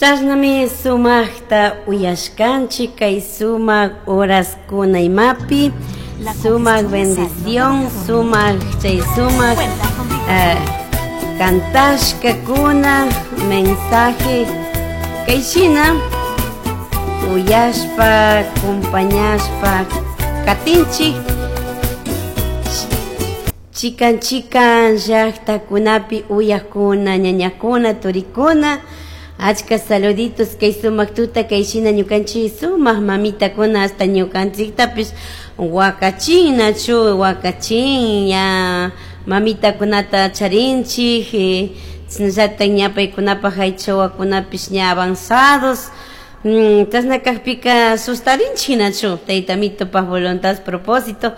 Chashnami sumajta uyashkanchik kay sumak horaskuna imapi La sumak congestión nasal no bendición te deja dormir. sumak chay sumak Cuenta con eh, Vicodin. kantashkakuna mensaje kayshina uyashpa acompañashpa katinchik chikan chikan llaqtakunapi uyakuna ñañakuna turikuna achka saluditos kay sumak tuta kay shina ñukanchik sumak mamitakuna hasta ñukanchiktapish wakachin nachu wakachin ña mamitakunata charinchik chashnallatak ña paykunapak aycha wawakunapish ña avanzados chashna kakpika sustarinchik nachu tayta mitupak voluntad propósito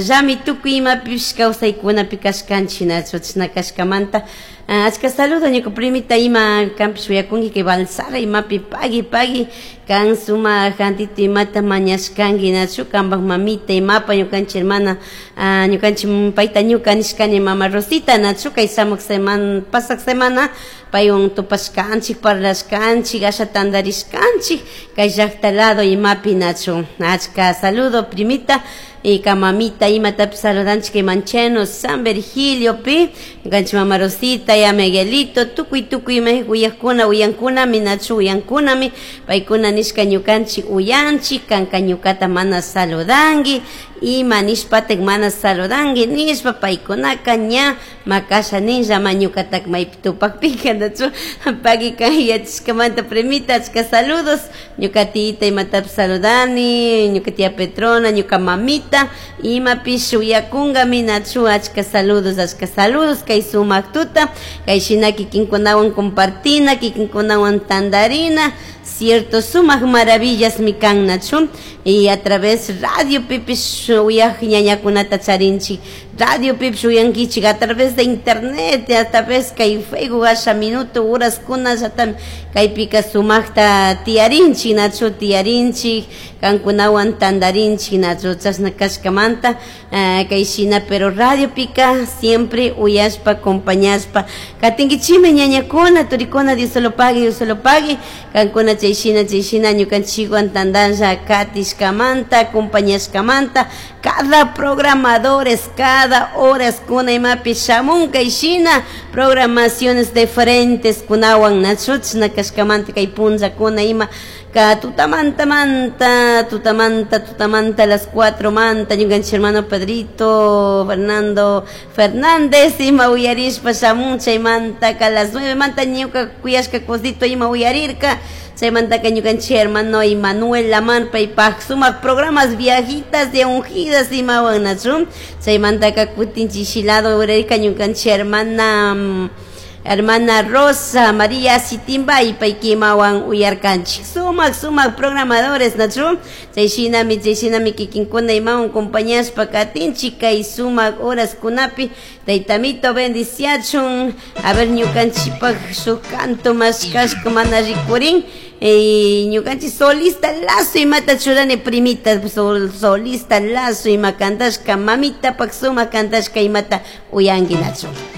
llami tukuy imapish kawsaykunapi kashkanchik nachu chashna kashkamanta achka saludo ñuka primita ima kanpish uyakunki kay Balsara imapi pagui pagui kan sumak jantito imata mañashkanki nachu kanpak mamita imapa ñukanchik hermana ñukanchik payta ñuka nishkani mama Rosita nachu kay shamuj semana pasak semana paywan tupashkanchik parlashkanchik asha tantarishkanchik kay llakta lado imapi nachu achka saludo primita y ka mamita imatapish saludanchik kay Mancheno San Virgilio pi ñukanchik mama Rosita ya Miguelito tukuy tukuy ima uyakuna uyankunami nachu uyankunami paykuna nishka ñukanchik uyanchik kanka ñukata mana saludanki ima nishpatak mana saludanki nishpa paykunaka ña makasha ninlla ma ñukatak maypi tupakpika nachu pagui kan yachashkamanta primita achka saludos ñuka tiyita imatapish saludani ñuka tía Petrona ñuka mamita imapish uyakunkami nachu achka saludos kay sumak tuta kay shina kikinkunawan compartina kikinkunawan tantarina cierto sumak maravillas mi kan nachu y a través radio pipish uyak ñañakunata charinchik radio pipish uyankichik a través de internet a través kay Facebook asha minuto horaskuna llatam kaypika sumakta tiyarinchik nachu tiyarinchik kankunawan tantarinchik nachu chashna kashkamanta kay shina pero radio pika siempre uyashpa acompañashpa katinkichikmi ñañakuna turikuna Dios se lo pague Dios se lo pague kankuna chay shina ñukanchikwan tantalla katishkamanta acompañashkamanta cada programadores cada horas kuna imapi shamun kay shina programaciones diferentes kunawan nachu chashna kashkamanta kay punllakuna ima ka tutamanta manta tutamanta tutamanta las 4 manta ñukanchik hermano Pedrito Fernando Fernández ima uyarishpa shamun chaymanta ka las 9 manta ñuka kuyashka cosito ima uyarirka chaymantaka ñukanchik hermano Emanuel Lamar paypak sumak programas viajitas de ungidas imawan nachu chaymantaka kutin chishilado uyarirka ñukanchik hermana hermana Rosa María Sitimbay paykimawan uyarkanchik sumak sumak programadores nachu chay shinami kikinkuna imawan compañashpa katinchik kay sumak horaskunapi taytamito bendiciachun a ver ñukanchikpak shuk canto mashkashka mana rikurin ñukanchik solista lazo imata churani primita solista lazo ima kantashka mamitapak sumak kantashka imata uyanki nachu.